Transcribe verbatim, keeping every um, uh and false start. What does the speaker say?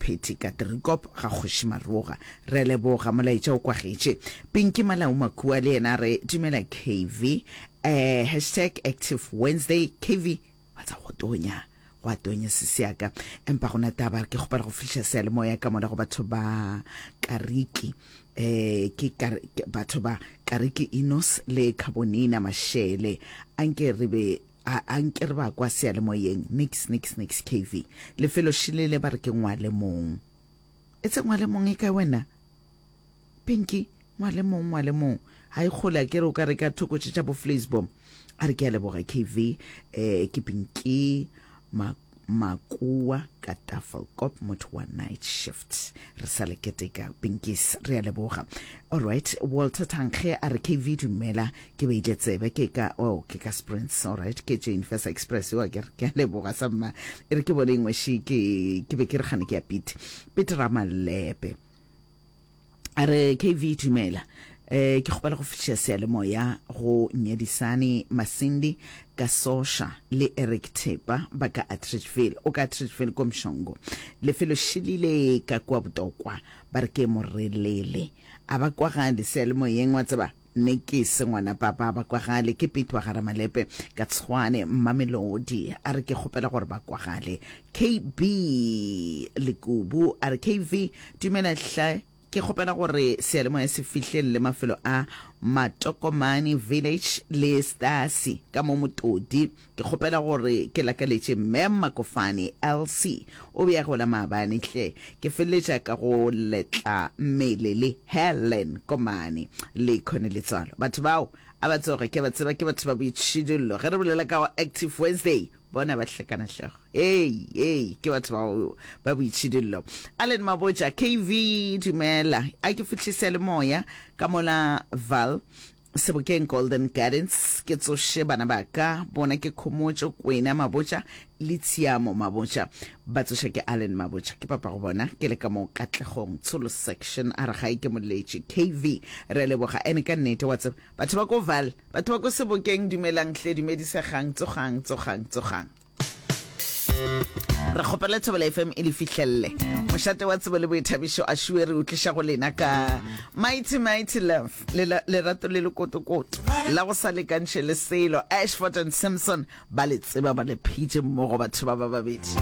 Pheti ka Driekop ga Kgoši Maroga. Re a leboga, molaetša o kwagetše. Pinky Malau Makua le yena a re dumela K V, eh, hashtag active Wednesday. K V, wa tsa go tonya, go a tonya sesi ya ka, empa gona taba ke kgopela go fihla seyalemoya ka mola go batho ba Kariki, eh ke kar, batho ba Kariki Enos le Carbonina Mashele, anke re be a anke re ba kwa seyalemoyeng. Nix nix nix. K V, lefelo šilele ba re ke ngwale mong, e tse ngwale mong e kae wena Pinky? Ngwale mong, ngwale mong ga e kgole, a ke re o ka re ka thoko tše tša bo Flaysbom. A re ke a leboga K V, eh ke Pinky Ma Makua ka Tafelkop, motho wa night shift. Re sa le keteka Pinkies, re a leboga. Alright, Walter Tankge a re K V dumela, ke beile tsebe ke ka, oh, ke ka Sprints. Alright, ke Jane Furse Express wa ke re ke a leboga samma. E re ke bone engwe še ke ke be ke re gane ke ya Pete Pete Ramalepe a re K V dumela, eh ke kgopela go fihla seyalemoya go Nyedisane Masindi ka Sosha le Eric Thepa ba ka Atteridgeville, o ka Atteridgeville ko Mshongo. Lefelo šilile ka kua Botokwa ba re ke Morelele, a ba kwagale seyalemoyeng, wa tseba ne ke se ngwana papa, ba kwagale. Ke Petwa ga Ramalepe ka Tshwane Mamelodi, a re ke kgopela gore ba kwagale. K B Lekubu a re K V dumela hle, ke kgopela gore seyalemoya se fihlelele mafelo a Matokomane Village le Stasi ka mo Motodi. Ke kgopela gore ke lakaletše Mem Makofane L C, o be a gola maabane hle. Ke feleletša ka go letla mmele le Helen Komane le Connie Letswalo. Batho bao a ba tsoge, ke ba tseba, ke batho ba boitšhidullo. Ge re bolela ka go Active Wednesday, bona ba hlekana hlogo. Ei ei, ke batho bao ba boitšhidullo. Allen Mabotja, K V dumela, a ke fihlise le moya ka mola Val Sebokeng Golden Gardens, ke tsoše bana ba ka, bona ke Khomotšo Kwena Mabotja le Tshiamo Mabotja, ba tsoša ke Allen Mabotja, ke papa go bona. Ke le ka mo Katlegong Tsholo section, a re gae ke moletše. K V re a leboga, ene ka nnete wa tseba batho ba ko Val, batho ba ko Sebokeng, dumelang hle, dumedisegang, tsogang tsogang tsogang. Re kgopela Thobela F M e le fihlelle mošate wa tsebo le boithabišo. A šue re utliša go lena ka Mighty Mighty Love, lerato le lekotokoto la go sa lekantšhe le selo. Ashford and Simpson ba le tseba, ba le phitše mmogo batho ba ba babedi.